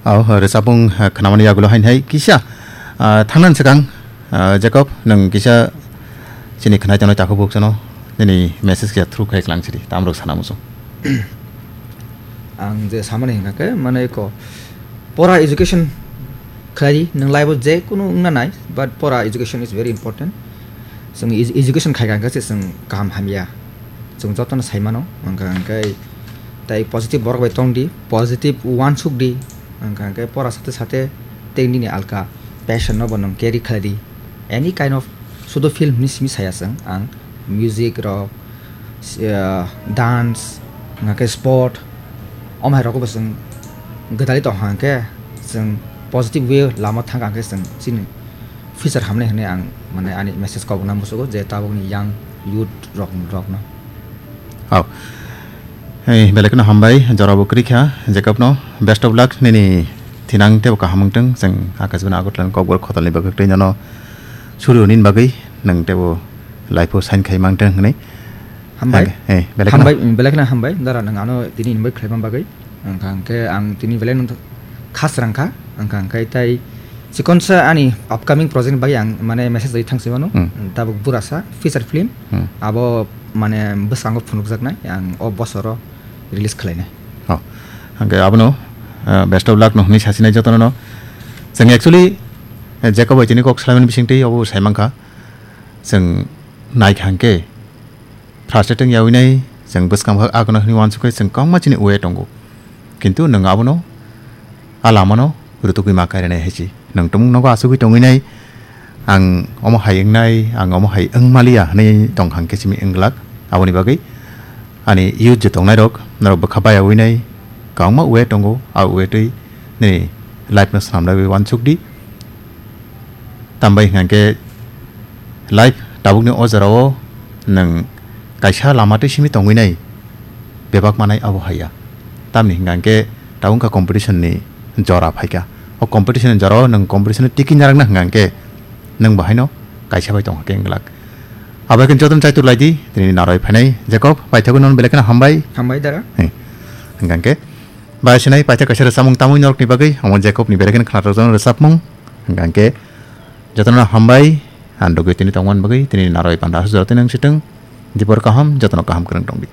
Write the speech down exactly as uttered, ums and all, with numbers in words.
Aw, rwchapmung, ah, khwnamani yagulo hain hai kisa, ah, thangnan swkang, ah, Jacob, nwng kisa chini khwnai tongnai takhuk bukchano nini message kisa through khai klang sidi, tamrok sana muchung. Ang je samani hingka khe, mane ko pora education khlai di, nwng life o je kunu wngna nai, but pora education is very important. Chwng edu-, education khai kha hingka se chwng kaham hamya. Chwng jotono sai mano, hingka hingke tai positive borok bai tong di, positive uansuk di, hingka hingke pora sate sate tei nini alka passion no bo nwng carry khlai di. Any kind of sudo film ni simi saya chwng ang music rok, ah, dance, hingka khe sport, omo hai rok bo chwng gwdalwi tong kha hingke chwng positive way lama thang kha hingke chwng chini future hamnai hwnwi ang, mane, ani message kok na musugo je tabukni young youth rok, rokno. Hao. Hey, belai kheno hambai, jorabo kwrwi kha, Jacob no. Best of luck, nini thinang tebo kaham wngtong, chwng Akashbani Agartala ni Kokborok Khotalni bagwi tei nono surio nini bagwi, nwng tebo life o sign khai mangtong hwnwi. Hambai. Hey, belai kheno. Hambai, belai kheno hambai, dara nwng ano tini invite khlaima bagwi. Wngkha hwnkhe ang tini belai no khas rang kha, wngkha hwnkhe tai chikonsa ani upcoming project bai ang mane message ri thang se mano. Hmm. Tabuk Burasa feature film. Hmm. Abo mane bwskango phunukjaknai ang o bosoro release khlainai. Oh. Hwnkhe abono, uh, best of luck no hwnwi sasinai jotono no. Chwng actually, eh, Jacob bai tini kok salaimani bisingtwi obo sai mankha. Chwng naikha hwnkhe Frustrating yaui nai, chwng bwskang bo agono hwnwi uansuk khe chwng kwbangma chini uai tongo. Kintu nwng abono, a lamano rwtugwi ma kairanai hai se. Nwng tumung nogo achugwi tongwi nai, ang omo hai wngnai, ang omo hai wng maliya hwnwi tong kha hwnkhe simi wng glak. Aboni bagwi ani youth je tongnai rok, norok bwkha bayaui nai, kwbangma uai tongo, a uai twi nini life no swnamlaiwi uansuk di. Tambai hwnkha khe life tabukni o jorao nwng kaisa lama twi simi tongwi nai bebak manai abo haiya. Tamni hwnkha khe tabuk wngkha competition ni jora phaikha. O competition ni jorao nwng competition ni tiki narakna hwnkha khe nwng bo haino kaisa bai tongkha khe wng glak. Abo hai khe jotono chaitor lai di, tini narwi phainai Jacob, paithakgwi nono belai kheno hambai. Hambai dara. Hwnkha khe bai sinai paithak kaisa rwchapmung tamwi norokni bagwi, omo Jacob ni belai kheno khwnathokjaknai rwchapmung. Hwnkha khe jotono hambai, ang dugwi tini tongmani bagwi, tini narwi panda aswk jora tini wng sitwng, dipor kaham, jotono kaham kwrwng tongdi.